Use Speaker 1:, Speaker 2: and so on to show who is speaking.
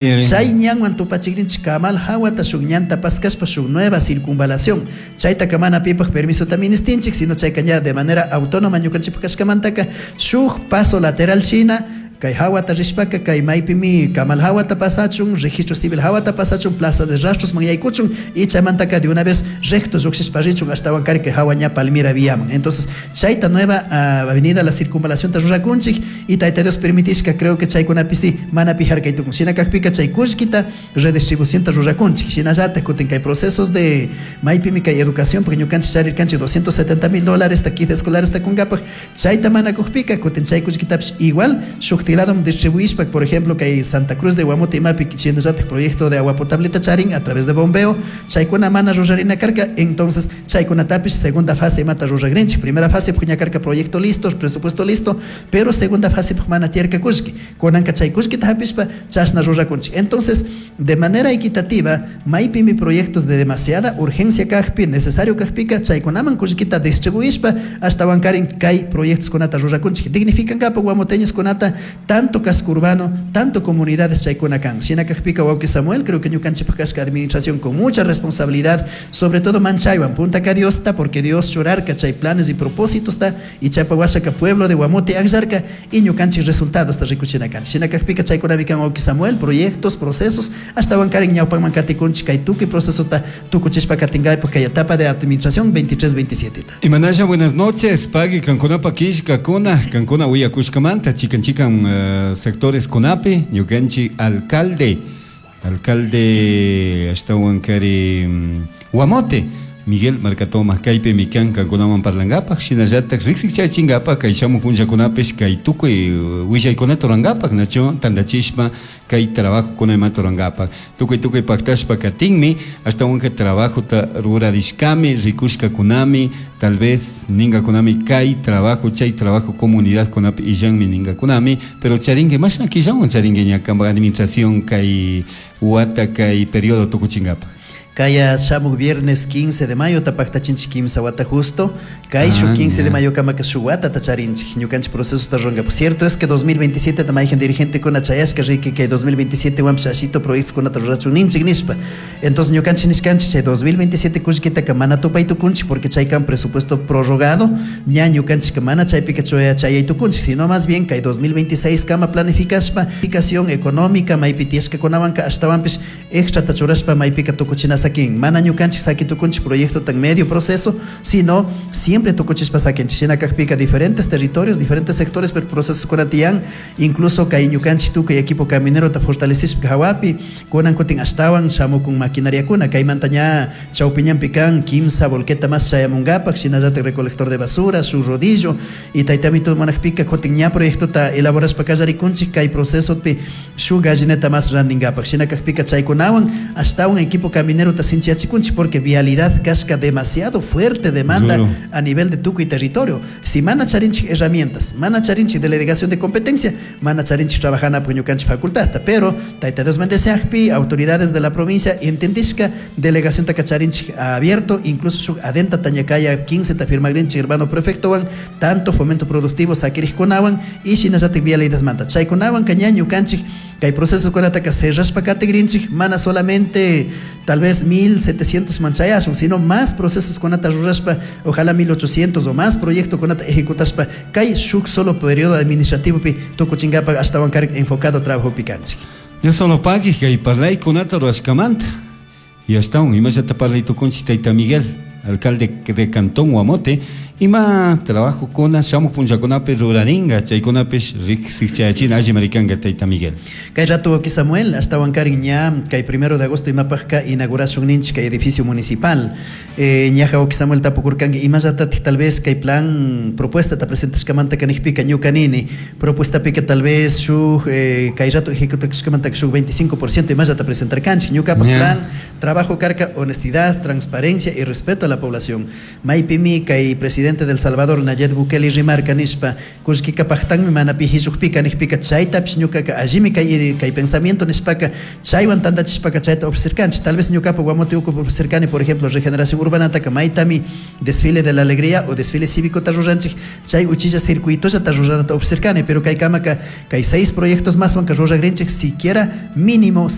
Speaker 1: Chay ñanwan tupachikrinchik Kamal hawata shuk ñanta paskashpa shuk nueva circunvalación. Chaytaka mana pipaj permisota ministinchik, sino chayka ña de manera autónoma ñukanchikpaj kashkamantaka shuk paso lateral shina kay hawata rishpaka kay maypimi Kamal hawata pasachun, Registro Civil hawata pasachun, Plaza de Rastros man yaykuchun y chaymantaka de una vez recto llukshishpa richun ashtawan kari kay hawa ña Palmira viaman. Entonces chayta nueva avenida la circunvalación ta rurakunchik y Tayta Dios permitishka creo que chaykunapi sí mana pi harkay tukun. Shina kakpika chay kullkita redistribución ta rurakunchik. Shinallatak kutin kay procesos de maypimi kay educación porque ñukanchik charirkanchik 270 mil dólares ta kit escolares ta kunkapak, chayta mana kukpika kutin chay kullkitapish igual shukti lado distribuishpa, por ejemplo, kay Santa Cruz de Guamote imapi shinallatak proyecto de agua potable ta charin a través de bombeo, chaykuna mana rurarina karka, entonces chaykunatapish segunda fase imata ruragrinchik. Primera fase ña karka proyecto listo, presupuesto listo, pero segunda fase mana tiyarka kullki. Kunanka chay kullkita hapishpa chashna rurakunchik. Entonces, de manera equitativa, maypimi proyectos de demasiada urgencia kakpi, necesario kakpika, chaykunaman kullkita distribuishpa ashtawan karin kay proyectos kunata rurakunchik. Dignificankapak guamoteños kunata, tanto casco urbano, tanto comunidades chaykuna kan. Shina kakpika, wawki Samuel, creo que ñukanchikpak kashka administración con mucha responsabilidad, sobre todo manchaywan, puntaka Diosta, porque Dios churarka chay planes y propósitos ta, y chaypa washaka pueblo de Guamote akllarka, y ñukanchik resultados ta rikuchina kan. Shina kakpika chaykunami kan, wawki Samuel, proyectos, procesos, ashtawan karin ñawpakman katikunchik kay tukuy procesota tukuchishpa katinkaypuk kay etapa de administración 23-27 ta.
Speaker 2: Imanasha, buenas noches, pagui kankunapa killkakuna, kankuna willakushkamanta, chikan chikan sectores kunapi, ñukanchik alcalde ashtawan kari Guamote, Miguel Marcatoma, kaypimi kan kankunawan parlankapak, shinallatak riksichachinkapak kay shamuk punllakunapish kay tukuy willaykunata rurankapak, nachu tantachishpa kay trabajokuna imata rurankapak. Tukuy tukuy paktashpa katinmi, ashtawanka trabajota rurarishkami, rikushkakunami, tal vez ningakunami kay trabajo, chay trabajo comunidad kunapi illanmi ningakunami, pero charinki mashna killawan charinki ña kanpak administración kay wata kay periodo tukuchinkapak?
Speaker 1: Kaya shamuk viernes 15 de mayo tapaktachinchik kimsa wata justo. Kay shuk 15 de mayo kamaka shuk watata charinchik. Ñukanchik proceso ta rurankapak. Cierto es que 2027 ta mayhan dirigente kuna chayashka riki kay 2027 wanpish ashito proyectos kunata rurachun ninchik nishpa. Entonces ñukanchik nishkanchik chay 2027 kullkitaka mana tupay tukunchik porque chay kan presupuesto prorrogado, ña ñukanchik mana chaypika chayay tukunchik, sino más bien kay 2026 kama planificashpa, planificación económica maypi tiyashkakunawanka ashtawanpish extra ta churashpa maypika tukuchina sakin. Mana ñukanchik saki tukunchik proyecto tan medio proceso, sino siempre tukuchishpa sakinchik. Shina kakpika diferentes territorios, diferentes sectores, pero procesos kuna tiyan, incluso kay ñukanchik tukuy equipo caminero ta fortalecishpa hawapi, kunan kutin ashtawan shamukun maquinaria kuna, kaymanta ña chawpiñanpi kan kimsa volqueta más chayamunkapak, shinallatak recolector de basura, su rodillo, y taytamito munakpika kutin ña proyectota elaborashpa kallarikunchik kay procesopi shuk gallineta más randinkapak. Shina kakpika chaykunawan ashtawan equipo caminero ta sinchiyachikunchik porque vialidad kashka demasiado fuerte demanda
Speaker 2: Duro.
Speaker 1: A nivel de tukuy territorio. Si mana charinchik herramientas, mana charinchik delegación de competencia, mana charinchik trabajana ñukanchik facultad. Pero Tayta Dios bendeciakpi, autoridades de la provincia entendishka delegación ta charinchik abierto, incluso shuk adenta tañakaya 15 ta firmagrinchik hermano prefectowan, tanto fomento productivo sakirikunawan y shinallatik vialidad manta. Chaykunawan kaña ñukanchik kay proceso kunataka cerrashpa katigrinchik, mana solamente tal vez 1700 manchayashun, sino más procesos kunata rurashpa, ojalá 1800 o más proyecto kunata ejecutashpa, kay shuk solo periodo administrativo pi tukuchinkapak ashtawan karik enfocado trabajo pikanchik.
Speaker 2: Dios solo pagui kay parlaykunata rurashkamanta. Y ashtawan imallata parlay tukunchik tayta Miguel, alcalde de Cantón Guamote, ima trabajo kuna shamuq punllakunapi ruraringa, chaykunapish riksichayachina alli marikanka tayta Miguel.
Speaker 1: Kay rato wawki Samuel, ashtawan karin ña kay 1 de agosto imapajka inauguración ninchik kay edificio municipal. Ñaja wawki Samuel tapukurkanki imallatatik tal vez kay plan propuesta ta presentashkamanta kanikpika ñuka nini propuestapika tal vez shuk kay rato ejecutashkamanta shuk 25% imallata presentarkanchik ñukapak plan trabajo karka honestidad, transparencia y respeto a la población. Maypimi kay presidente Presidente del Salvador Nayib Bukele rimarka nishpa kullkika paktanmi mana pi hillukpika nijpika chaytapish ñukaka allimi kay kay pensamiento nishpaka chaywan tantachishpaka chayta ofrecerkanchik. Tal vez ñukapa Guamote ukupi ofrecerkani, por ejemplo, regeneración urbanataka maytami desfile de la alegría o desfile cívicota ruranchik, chay uchilla circuitollata ruranata ofrecerkani, pero kay kamaka kay seis proyectos más wanka ruragrinchik siquiera mínimo.